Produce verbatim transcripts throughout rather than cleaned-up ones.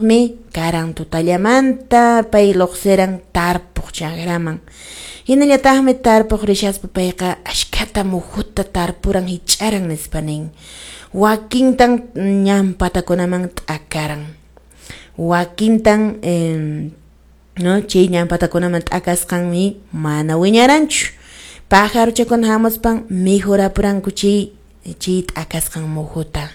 Mi karan tutallamanta pay luqsiran tarpuq chakraman. Hinallataqmi tarpuq rishaspa payqa ashkhata muhuta tarpuran hich'aran nispa nin. Wakintan ñan patakunaman t'akaran. Wakintan eh, no chay ñan patakunaman t'akasqanmi mana wiñaranchu. Pajaruchakuna hamuspan mikhurapuranku chay chay t'akasqan muhuta.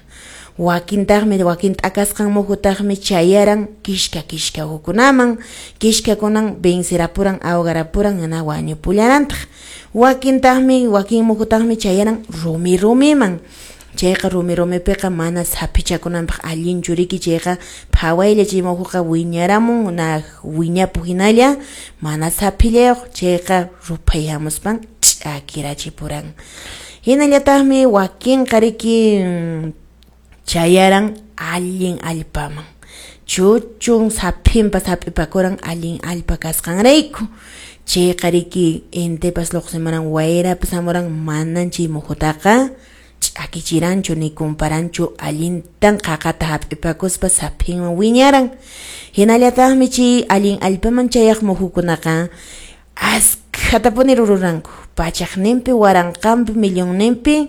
Wakintaqmi wakin t'akasqan muhutaqmi chayaran kishka kishka ukunaman, kishkakunan vencerapuran ahogarapuran hina wañupullarantaq. Wakintaqmi wakin muhutaqmi chayaran rumi rumiman. Chayqa rumi rumipiqa mana saphichakunanpaq allinchu riki chayqa phawaylla chay muhuqa wiñaramun na wiñapuq hinalla mana saphillayuq chayqa ruphay hamuspan ch'akirachipuran. Hinallataqmi wakinqa riki chayaran allin allpaman. Chuchun saphinpas hap'ipakuran allin allpa kasqanrayku. Chayqa riki intipas luqsimuran wayrapas hamuran manan chay muhutaqa ch'akichiranchu ni kumparanchu allintan qaqata hap'ipakuspa saphinwan wiñaran. Hinallataqmi chay allin allpaman chayaq muhukunaqa askhatapuni rururanku. Pachaqninpi, waranqanpi, millonninpi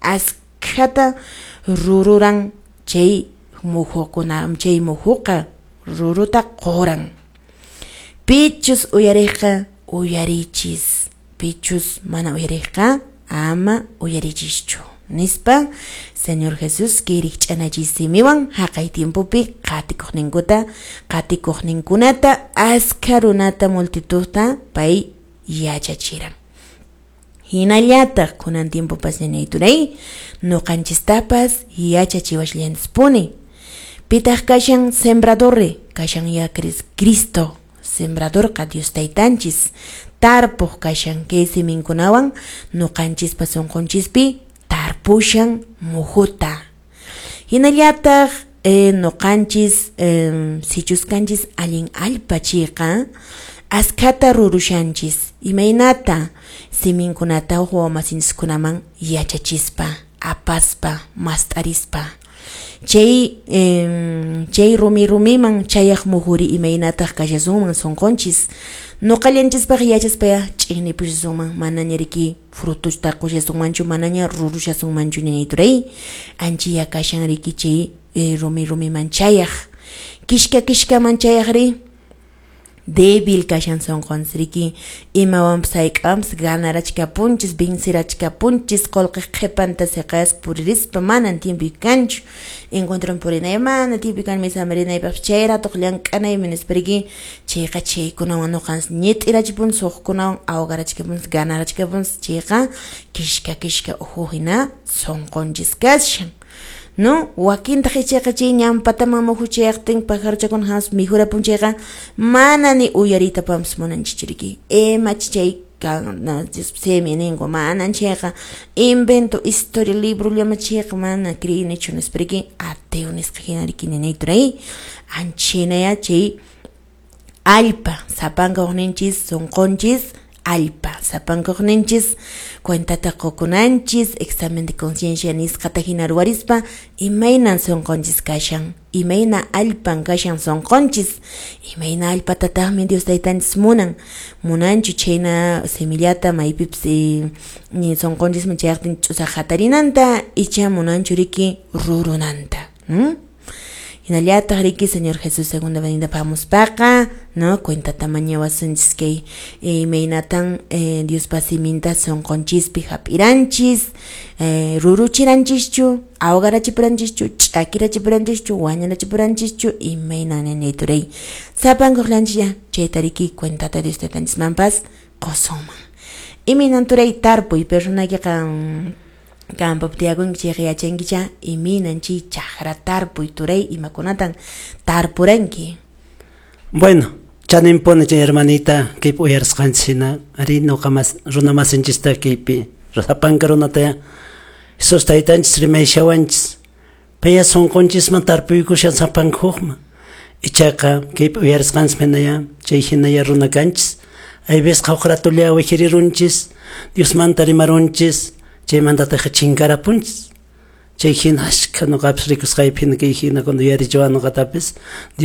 askhata rururan chay muhukuna, chay muhuqa ruruta quran. Pichus uyariqqa uyarichis, pichus mana uyariqqa ama uyarichischu. Nispa Señor Jesús kay rikch'anachisimiwan haqay tiempopi qatikuqninkuta qatikuqninkunata askha runata multitudta pay yachachiran. Hinallataq kunan tiempopas ñañayturay nuqanchistapas yachachiwashallanchispuni. Pitaq kashan sembradorri kashan ya Cristo sembradorqa Dios taytanchis tarpuq kashan kay siminkunawan nuqanchispa sunqunchispi tarpushan muhuta. Hinallataq eh, nuqanchis eh, sichus kanchis allin allpa chayqa askhata rurushanchis imaynata siminkunata huk wawamasinchiskunaman yachachispa apaspa mast'arispa. Chay eh, chay rumi rumiman chayaq muhuri imaynataq kashasunman sunqunchis nuqallanchispaq yachaspaya ch'iqnipushasunman manaña riki frutusta qushasunmanchu manaña rurushasunmanchu ñañayturay anchiya kashan riki chay eh, rumi rumiman chayaq kishka kishkaman chayaqri débil kashan sunqunchis riki imawanpas hayk'awanpas ganarachkapunchis vencirachkapunchis qullqiq qhipanta siqayaspa puririspa manan tiempoy kanchu encuentron purinay mana tiempoy kan misaman rinaypaqpas chay ratuq llank'anaymi nispa riki chayqa chaykunawan nuqanchis ñit'irachipunchis hukkunawan ahogarachkapunchis ganarachkapunchis chayqa kishka kishka uhu hina sunqunchis kashan. No, wakintaq ichaqa chay ñan pataman muhu chayaqtin pajaruchakuna hamuspa mikhurapun chayqa mana ni uyariytapapas munanchikchu riki imach chay kan simi ninku manan chayqa invento historia librollama chayqa mana creynichu nispa riki ateo nisqa hina riki ñañayturay anchhinaya chay allpa sapanka hukninchis sunqunchis allpa sapanka hukninchis cuentata qukunanchis examen de conciencia nisqata hina ruwarispa imaynan sunqunchis kashan imayna allpan kashan sunqunchis imayna allpatataqmi Dios taytanchis munan munanchu chhayna semillata maypipas eh, sunqunchisman chayaqtin ch'usaq hatarinanta icha munanchu riki rurunanta. ¿Mm? Hinallataq riki Señor Jesús segunda venida hamuspaqa no cuentata mañawasunchis kay imaynatan eh, Diospa siminta sunqunchispi hap'iranchis eh, ruruchiranchischu ahogarachipuranchishchu ch'akirachipuranchishchu wañurachipuranchishchu imayna ñañayturay sapankuqllanchis ya chayta riki cuentata Dios taytanchismanpas qusunman. Imaynan turay tarpuy personaykiqa campopi tiyakunki chayqa yachankicha imaynan chay chakra tarpuy turay imakunatan tarpuranki. Bueno, chaninpuni chay hermanita kaypi uyarisqanchis hina ari nuqa mas runa masinchista kaypi sapanka runata Jesús taytanchis rimayshawanchis paya sunqunchisman tarpuykushan sapanka hukman ichaqa kaypi uyarisqanchis hinaya chay hinaya runa kanchis aybesqa huk ratulla wijirirunchis Diosmanta rimarunchis chaymantataq chinkarapunchis Chay hina ashka nuqapis rikusqaypi hina kay hina cuando yuyarichiwan nuqatapis Dios.